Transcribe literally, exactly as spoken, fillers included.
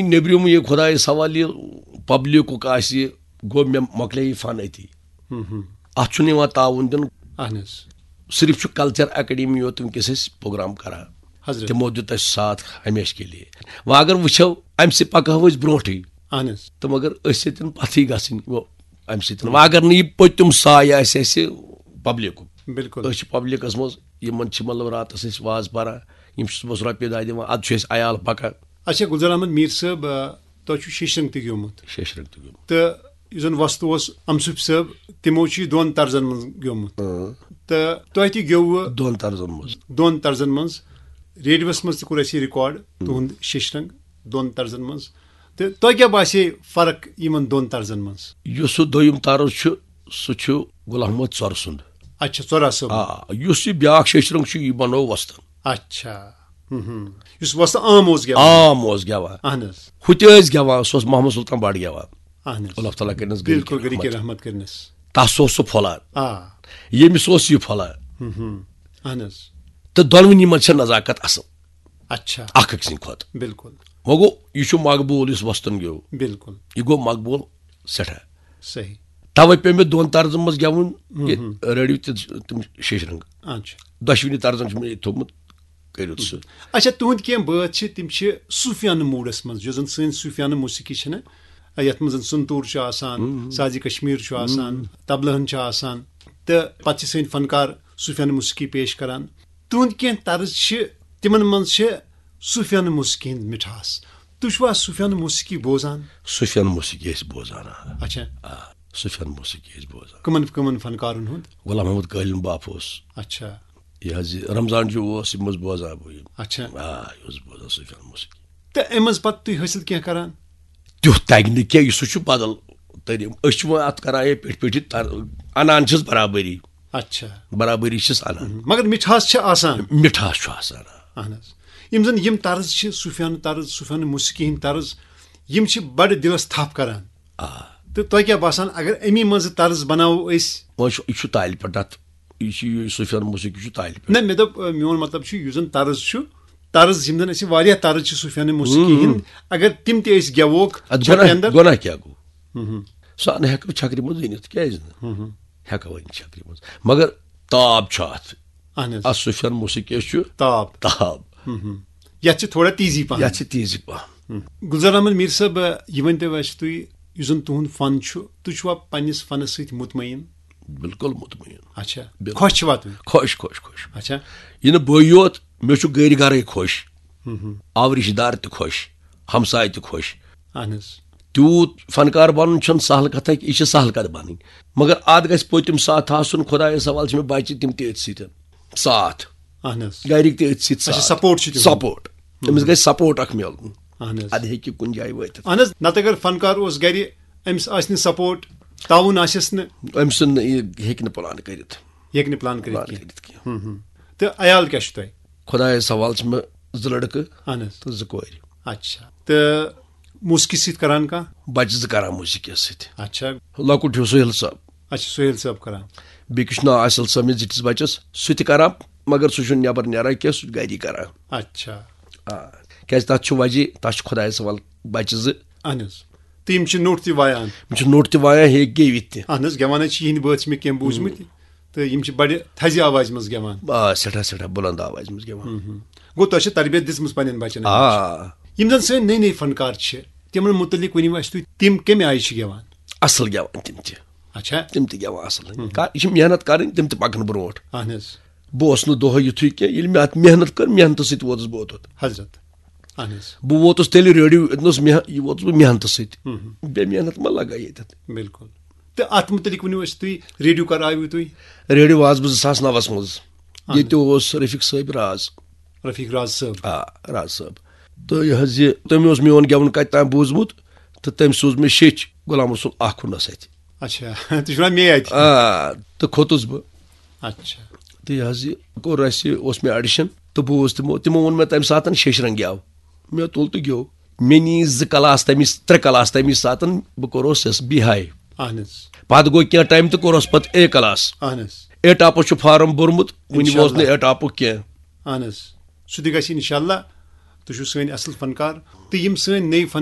نیٚبرِم یہِ خۄدایَس حوالہٕ یہِ پبلِکُک آسہِ، گوٚو مےٚ مۄکلے یہِ فن أتی۔ اتھ چھُنہٕ یِوان تعاوُن دِنہٕ۔ اہن حظ۔ صرف چھُ کلچر اکیڈمی یوت وٕنکیٚس أسۍ پروگرام کران۔ حضرت۔ تِمو دیُت اَسہِ ساتھ ہمیشہِ کے لیے۔ وۄنۍ اگر وٕچھو، امہِ سۭتۍ پکہو أسۍ برونٛٹھٕے۔ اہن حظ۔ تِم اگر أسۍ سۭتۍ پتھٕے گژھٕنۍ، گوٚو امہِ سۭتۍ۔ وۄنۍ اگر نہٕ یہِ پٔتِم سایہِ آسہِ اَسہِ پبلِکُک، بِلکُل۔ أسۍ چھِ پبلِکس منٛز، یِمن چھِ مطلب راتس أسۍ واز پران، یِم چھِ صُبحس رۄپیہِ دَہ دِوان، ادٕ چھُ اَسہِ عیال پکان۔ اچھا، گُلزار احمد میٖر صٲب، آ، تۄہہِ چھُو شیشرنگ تہِ گیومُت۔ شیشرنگ تہِ گیوٚمُت۔ تہٕ یُس زن وۄستہٕ اوس امصف صٲب، تِمو چھُ یہِ دۄن طرزن منٛز گیومُت۔ اۭں۔ تہٕ تۄہہِ تہِ گیوٚوٕ دۄن طرزن منٛز۔ دۄن طرزن منٛز۔ ریڈیوس منٛز تہِ کوٚر اَسہِ یہِ ریکارڈ تُہُنٛد شیشرنگ دۄن طرزن منٛز۔ تہٕ تۄہہِ کیٛاہ باسے فرق یِمن دۄن طرزن منٛز؟ یُس سُہ دوٚیُم طرز چھُ، سُہ چھُ غلام محمد ژۄرٕ سُنٛد۔ اچھا، ژۄرا صٲب۔ آ، یُس یہِ بیٛاکھ شیشرنگ چھُ، یہِ بنوو وۄستن۔ اچھا۔ ہم، ہم۔ یُس وۄستہٕ عام اوس گٮ۪وان۔ عام اوس گٮ۪وان۔ اہن حظ۔ ہُہ تہِ ٲسۍ گٮ۪وان، سُہ اوس محمد سلطان بٹ گٮ۪وان۔ اہن حظ۔ اللہ تعالیٰ کٔرِنَس بِلکُل، گرِکٮ۪ن گرِکہِ رحمت۔ رحمت کٔرنَس۔ تَس اوس سُہ پھۄلان۔ آ۔ ییٚمِس اوس یہِ پھۄلان۔ ہم، ہم۔ اہن حظ۔ تہٕ دۄنوٕنی منٛز چھےٚ نزاکت اصل۔ اچھا۔ اکھ أکۍ سٕنٛدِ کھۄتہٕ۔ بِلکُل۔ وۄنۍ گوٚو، یہِ چھُ مقبوٗل یُس وۄستُن گیوٚو۔ بِلکُل۔ یہِ گوٚو مقبوٗل سٮ۪ٹھاہ۔ صحیح۔ توے پیوٚو مےٚ دۄن طرزن منٛز گٮ۪وُن، یہِ ریڈیو تہِ تِم شیشرنگ۔ اچھا۔ دۄشوٕنی طرزن چھُ مےٚ یہِ تھوٚومُت کٔرِتھ سُہ۔ اچھا، تُہٕنٛدۍ کینٛہہ بٲتھ چھِ، تِم چھِ صوٗفیانہٕ موٗڈس منٛز، یۄس زن سٲنۍ صوٗفیانہٕ موسیقی چھِ نہ، یتھ منٛز زن سنتوٗر چھُ آسان، سازِ کشمیر چھُ آسان، طبلہن چھُ آسان، تہٕ پتہٕ چھِ سٲنۍ فنکار صوٗفیانہٕ موسیقی پیش کران۔ تُہٕنٛدۍ کینٛہہ طرز چھِ، تِمن منٛز چھِ صوٗفیانہٕ موسیقی ہٕنٛز مِٹھاس۔ تُہۍ چھِوا صوٗفیانہٕ موسیقی بوزان؟ صوٗفیانہٕ موسیقی ٲسۍ بوزان، آ۔ اچھا۔ آ، صوٗفیانہٕ موسیقی ٲسۍ بوزان۔ کٕمن کٕمن فنکارن ہُنٛد؟ غلام محمد کٲلِن باپہٕ اوس۔ اچھا۔ یہِ حظ یہِ رمضان جی اوس، یِم ٲسۍ بوزان بہٕ یِم۔ اچھا۔ آ، یہِ اوس بوزان صوٗفیانہٕ موسیقی۔ تہٕ اَمہِ منٛز پتہٕ تُہۍ حٲصِل کینٛہہ کران؟ تیُتھ تَگہِ نہٕ کینٛہہ، یہِ سُہ چھُ بدل تٔریٖقہٕ۔ أسۍ چھِ وۄنۍ اَتھ کران یہِ پیٚٹھۍ پیٚٹھۍ تر-، اَنان چھِس برابری۔ اچھا۔ برابری چھِس اَنان۔ مگر مِٹھاس چھِ آسان۔ مِٹھاس چھُ آسان۔ اہن حظ۔ یِم زن یِم طرز چھِ، صوٗفیانہٕ طرز، صوٗفیانہٕ موسیقی ہٕنٛدۍ طرز، یِم چھِ بڑٕ دِلس تھپھ کران۔ آ۔ تہٕ تۄہہِ کیٛاہ باسان، اگر اَمی منٛزٕ طرز بناوو أسۍ؟ وۄنۍ چھُ، یہِ چھُ تالہِ پٮ۪ٹھ اَتھ، یہِ چھُ یہِ صوٗفیانہٕ موسیقی چھُ تالہِ پٮ۪ٹھ۔ نہ، مےٚ دوٚپ، آ، میون مطلب چھُ، یُس زن طرز چھُ، طرز یِم زن اَسہِ واریاہ طرز چھِ صوٗفیانہٕ موسیقی ہٕنٛدۍ، اگر تِم تہِ أسۍ گٮ۪ووکھ اَتھ چھۄپہِ گۄناہ، اندر۔ گۄناہ کیٛاہ گوٚو؟ سُہ نہٕ ہٮ۪کو چھکرِ منٛز أنِتھ، کیٛازِ نہٕ؟ ہٮ۪کو أنِتھ چھکرِ منٛز، مگر تاب چھُ اَتھ۔ اہن حظ۔ اَتھ صوٗفیانہٕ موسیقی یَس چھُ تاب۔ تاب۔ یتھ چھِ تھوڑا تیزی پہن۔ یَتھ چھِ تیزی پہن۔ گُلزار احمد میٖر صٲب، یہِ ؤنۍ تو اَسہِ تُہۍ، یُس زن تُہُنٛد فن چھُ، تُہۍ چھُوا پننِس فنس سۭتۍ مطمئن؟ بِلکُل مطمئن۔ اچھا۔ بِلکُل۔ خۄش چھِوا تُہۍ؟ خۄش، خۄش، خۄش۔ اچھا۔ یہِ نہٕ بٕے یوت، مےٚ چھُ گرِ گرے خۄش، آو رِشتہٕ دار تہِ خۄش، ہمساے تہِ خۄش۔ اہن حظ۔ تیوٗت فنکار بنُن چھُنہٕ سہل کتھا، یہِ چھِ سہل کتھ بنٕنۍ، مگر اتھ گژھِ پٔتِم ساتھ آسُن۔ خۄدایس حوالہٕ چھِ مےٚ بچہِ، تِم تہِ أتھۍ سۭتۍ۔ ساتھ۔ اہن حظ۔ گرِکۍ تہِ أتھۍ سۭتۍ اچھا، ساتھ۔ support چھُ تِہُنٛد۔ سپورٹ۔ أمِس گژھِ سپورٹ اکھ میلُن۔ اہن حظ۔ ادٕ ہیٚکہِ کُنہِ جایہِ وٲتِتھ۔ اہن حظ، نتہٕ اگر فنکار اوس گرِ، أمِس آسہِ نہٕ سپورٹ، تعاوُن آسٮ۪س نہٕ۔ أمۍ سُنٛد نہٕ یہِ ہیٚکہِ نہٕ پلان کٔرِتھ۔ ہیٚکہِ نہٕ پلان کٔرِتھ پلان کینٛہہ۔ کٔرِتھ کینٛہہ۔ ہم، ہم۔ تہٕ عیال کیٛاہ چھُ تۄہہِ؟ خۄدایس حوالہٕ چھِ مےٚ زٕ لڑکہٕ اہن حظ۔ تہٕ زٕ کورِ۔ اچھا۔ تہٕ موسیقی سۭتۍ کران کانٛہہ؟ بچہِ زٕ کران موسیقی سۭتۍ۔ اچھا۔ لۄکُٹ ہیوٗ سہیل صٲب۔ اچھا، سہیل صٲب کران۔ بیٚیہِ کِس چھُ ناو اصل صٲب، مےٚ زِٹھِس بچس، سُہ تہِ کران، مگر سُہ چھُنہٕ نٮ۪بر نیران کینٛہہ، سُہ چھُ گری کران۔ اچھا۔ آ، کیازِ تتھ چھُ وجہ، تتھ چھُ خۄدایس حوالہٕ بچہِ زٕ۔ اہن حظ۔ تہٕ یِم چھِ نوٚٹ تہِ وایان۔ یِم چھِ نوٚٹ تہِ وایان، ہیٚکہِ گیٚوِتھ تہِ۔ اہن حظ، گٮ۪وان حظ چھِ یِہِنٛدۍ بٲتھ چھِ مےٚ کینٛہہ بوٗزمٕتۍ۔ تہٕ یِم چھِ بڑِ تھزِ آوازِ منٛز گٮ۪وان۔ آ، سٮ۪ٹھاہ، سٮ۪ٹھاہ بُلند آوازِ منٛز گٮ۪وان۔ گوٚو، تۄہہِ چھِ تربیت دِژمٕژ پننٮ۪ن بچن؟ آ۔ یِم زن سٲنۍ نٔے نٔے فنکار چھِ، تِمن متعلق ؤنِو اسہِ تُہۍ، تِم کمہِ آیہِ چھِ گٮ۪وان؟ اصل گٮ۪وان تِم تہِ۔ اچھا۔ تِم تہِ گٮ۪وان اصل۔ کا-، یہِ چھِ محنت کرٕنۍ، تِم تہِ پکن برونٛٹھ۔ اہن حظ۔ بہٕ اوسُس نہٕ دۄہے یُتھُے کینٛہہ، ییٚلہِ مےٚ اتھ محنت کٔر، محنتہٕ سۭتۍ ووتُس بہٕ اوٚتتھ۔ حضرت۔ اہن حظ۔ بہٕ ووتُس تیٚلہِ ریڈیو، ییٚتہِ نس مح-، یہِ ووتُس بہٕ محنتہٕ سۭتۍ۔ بے محنت ما لگا ییٚتٮ۪تھ؟ بِلکُل۔ تہٕ اتھ متعلق ؤنِو اسہِ تُہۍ، ریڈیو کر آیوٕ تُہۍ؟ ریڈیو آس بہٕ زٕ ساس نَوَس منٛز۔ ییٚتہِ اوس رفیق صٲب راز۔ رفیق راز صٲب۔ آ، راز صٲب۔ تہٕ یہِ حظ یہِ، تٔمۍ اوس میون گٮ۪وُن کتہِ تام بوٗزمُت، تہٕ تٔمۍ سوٗز مےٚ شیٚچھ غلام رسول آخُنس اتھِ۔ اچھا، تُہۍ چھِو ونان مے اتہِ؟ آ، تہٕ کھوٚتُس بہٕ۔ اچھا۔ تہٕ یہِ حظ یہِ کوٚر اسہِ، اوس مےٚ audition، تہٕ بوٗز تِمو، تِمو ووٚن مےٚ تمہِ ساتہٕ شیٚچھ رنگ گٮ۪و۔ مےٚ تُل تہٕ گیوٚو۔ مےٚ نی زٕ کلاس تمی، ترٛےٚ کلاس تمی ساتہٕ، بہٕ کوٚرُس یس بِہاے۔ اہن حظ۔ پتہٕ گوٚو کینٛہہ ٹایم تہٕ کوٚرُس پتہٕ اے کلاس۔ اہن حظ۔ اے ٹاپس چھُ فارم بوٚرمُت، وُنہِ ووت نہٕ انشاءاللہ۔ اے ٹاپُک کینٛہہ۔ اہن حظ۔ سُہ تہِ گژھِ انشاءاللہ۔ تُہۍ چھِو سٲنۍ اصل فنکار۔ تہٕ یِم سٲنۍ نٔے فن